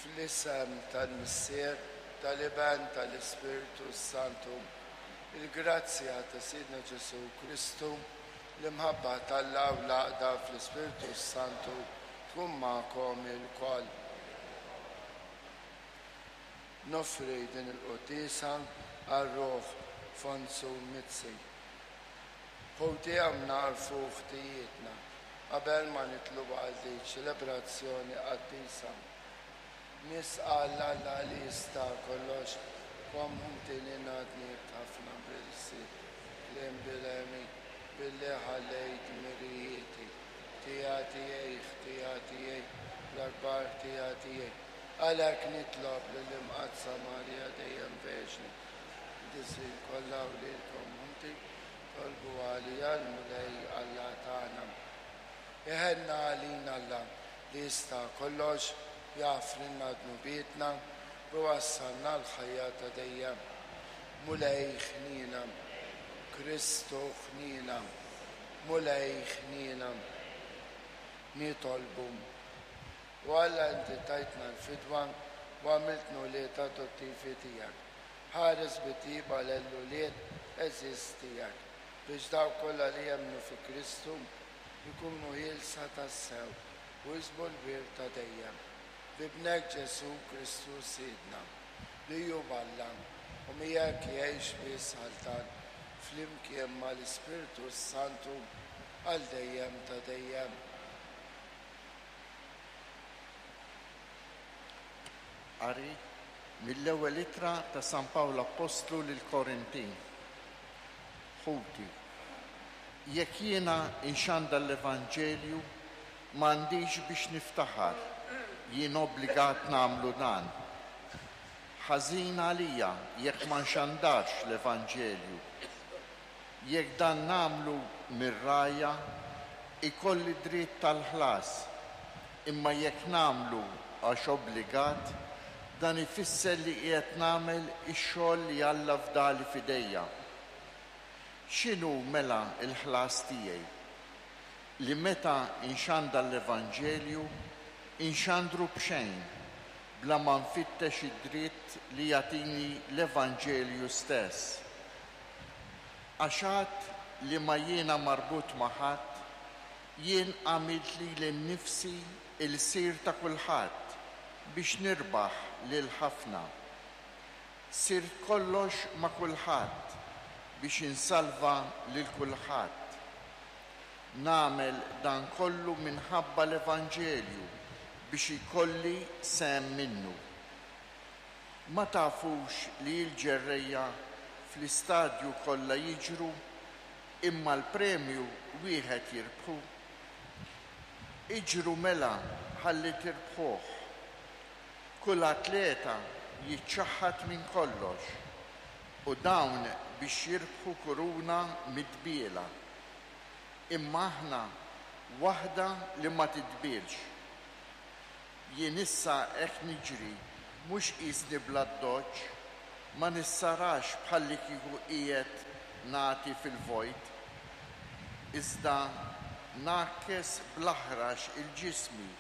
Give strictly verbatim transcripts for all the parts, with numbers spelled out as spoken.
Fl-isem tal-Missier, tal-Iben, tal-Ispirtu Santu, il-grazzja ta' Sidna Ġesù Kristu, l-imħabba t'Alla u l-għaqda fl-Ispirtu Santu tkun magħkom ilkoll. Noffri din il-quddiesa għal ruħ Fonzu Mizzi. Ħuti, hawn nagħrfu ħtijietna qabel ma nitlu għal din ċelebrazzjoni qaddisa. Nistqarr 'l Alla li jista' kollox, u ħuti li jiena dnibt ħafna bil-ħsieb, kliem, bil-għemil, billi ħallejt dmirijieti. Ħtija tiegħi, ħtija tiegħi, l-akbar ħtija tiegħi. Għalhekk nitlob lill-Imqaddsa Marija dejjem Verġni, qaddisin kollha u lilkom ħuti, itolbu għalija lill-Mulej Alla tagħna. Iħenn għalina Alla li jista' kollox, jaħfrilna dnubietna u jwassalna għall-ħajja ta' dejjem. Mulej ħnina, Kristu ħnina, Mulej ħnina. Nitolbu. O Alla, inti tajtna l-fidwa u għamiltna wlied adottivi tiegħek. Ħares bit-tjieba l-ulied għeżież tiegħek biex dawk kollha li jemmnu fi Kristu jkunu ħielsa tassew u jiksbu l-wirt ta' dejjem. B'Ibnek Ġesù Kristu Sidna, li hu Alla u miegħek jgħix u jsaltan flimkien mal-Ispirtu Santu għal dejjem ta' dejjem. Qari mill-ewwel ittra ta' San Pawl Appostlu lill-Korintin. Ħuti, jekk jiena nxandar l-Evanġelju, m'għandix biex niftaħar, jien obbligat nagħmlu dan. Ħażin għalija jekk ma nxandarx l-Evanġelju. Jekk dan nagħmlu mir-rgħajja, ikolli dritt tal-ħlas, imma jekk nagħmlu għax obbligat, dan ifisser li qiegħed nagħmel ix-xogħol li Alla fdali f'idejja. X'inhu mela l-ħlas tiegħi? Li meta nxandar l-Evanġelju, inxandru b'xejn, bla ma nfittex id-dritt li jagħtini l-Evanġelju stess. Għax għad li ma jiena marbut ma' ħadd, jien għamilt lili nnifsi lsir ta' kulħadd biex nirbaħ lil ħafna. Sirt kollox ma' kulħadd biex insalva lil kulħadd. Nagħmel dan kollu minħabba l-Evanġelju biex ikolli sehem minnu. Ma tafux li l-ġerrejja fl-istadju kollha jiġru, imma l-premju wieħed jirbħu? Iġru mela ħalli tirbħuh. Kull atleta jiċċaħħad minn kollox, u dawn biex jirbħu kuruna midbiela. Imma aħna waħda li ma titbielx. Jien issa hekk niġri, mhux qisni bl-addoċċ, ma nissarax bħalli kieku qiegħed nagħti fil-vojt, iżda ngħakkes bl-aħrax lil ġismi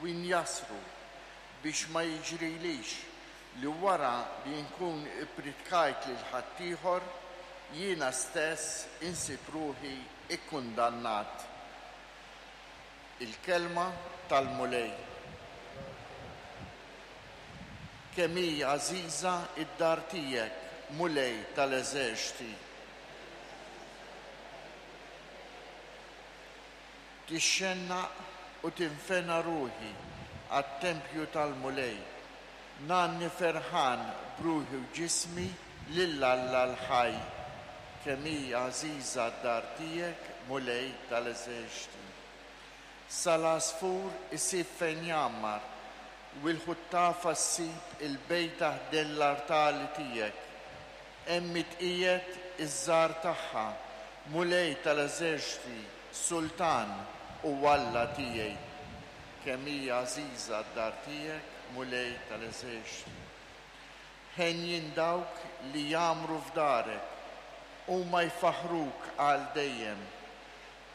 u njassru biex ma jiġrilix li wara li nkun ippritkajt lil ħaddieħor, jiena stess insib ruħi ikkundannat. Il-kelma tal-Mulej. Kemm hi għażiża id-dar tiegħek, Mulej tal-eżerċti. Tixxennaq u tinfena ruħi għat-tempju tal-Mulej. Ngħanni ferħan b'ruħi u ġismi lil Alla l-ħaj. Kemm hi għażiża d-dar tiegħek, Mulej tal-eżerċti. Sal-għasfur isib fejn jgħammar, u l-ħuttafa ssib il-bejta ħdejn l-artali tiegħek. Hemm itqiegħed iż-żgħar tagħha, Mulej tal-eżerċti, Sultan u Alla tiegħi. Kemm hi għażiża d-dar tiegħek, Mulej tal-eżerċti. Henjin dawk li jgħammru f'darek, huma jfaħruk għal dejjem.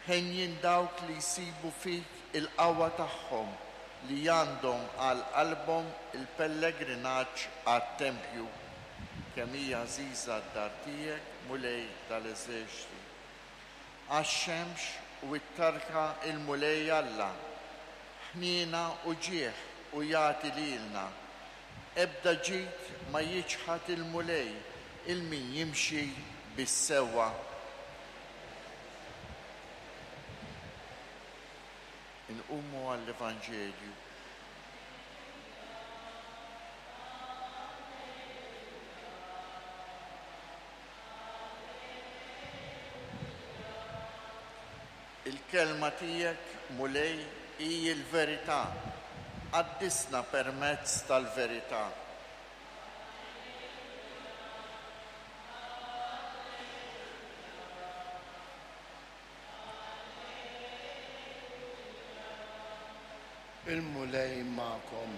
Henjin dawk li jsibu fik il-qawwa tagħhom, li għandhom għal qalbhom il-pellegrinaġġ għat-tempju. Kemm hija għażiża d-dar tiegħek, Mulej tal-eżerċti. Għax-xemx u t-tarka il-Mulej Alla, ħniena u ġieħ u jagħti lilna. Ebda ġid ma jiċħad il-Mulej il min jimxi bis-sewwa. Inqumu għall-Evanġelju. Il-kelma tiegħek, Mulej, hi l-verità. Qaddisna permezz tal-verità. Il-Mulej magħkom.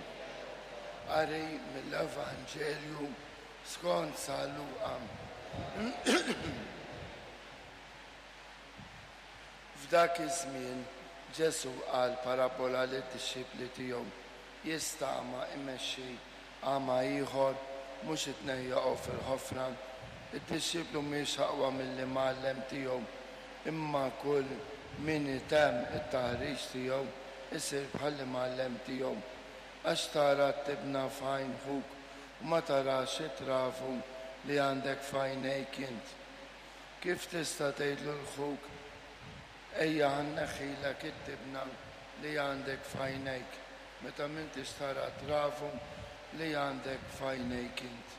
Qari mill-Evanġelju skont San Luqa. F'dak iż-żmien Ġesù qal parabola lid-dixxipli tiegħu. Jista' għama imexxi għama ieħor mhux it-tnejn jaqgħu fil-ħofra. Id-dixxiplu mhijiex aqwa mill-imgħallem tiegħu, imma kull min itemm it-taħriġ tiegħu isir bħall-imgħallem tiegħu. Għax tara t-tibna f'għajn ħuk u ma tarax it-travu li għandek f'għajnejk int. Kif tista' tgħidlu l-ħuk, ejja ħa nneħħilek it-tibna li għandek f'għajnejk, meta m'intix tara travu li għandek f'għajnejk int?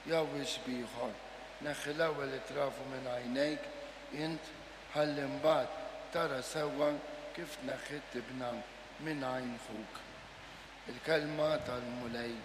Jew ix b'ieħor, neħħi l-ewwel it-travu minn għajnejk int, ħalli mbagħad tara sewwa kif tneħħi t-tibna minn għajn ħuk. Il-kelma tal-Mulej.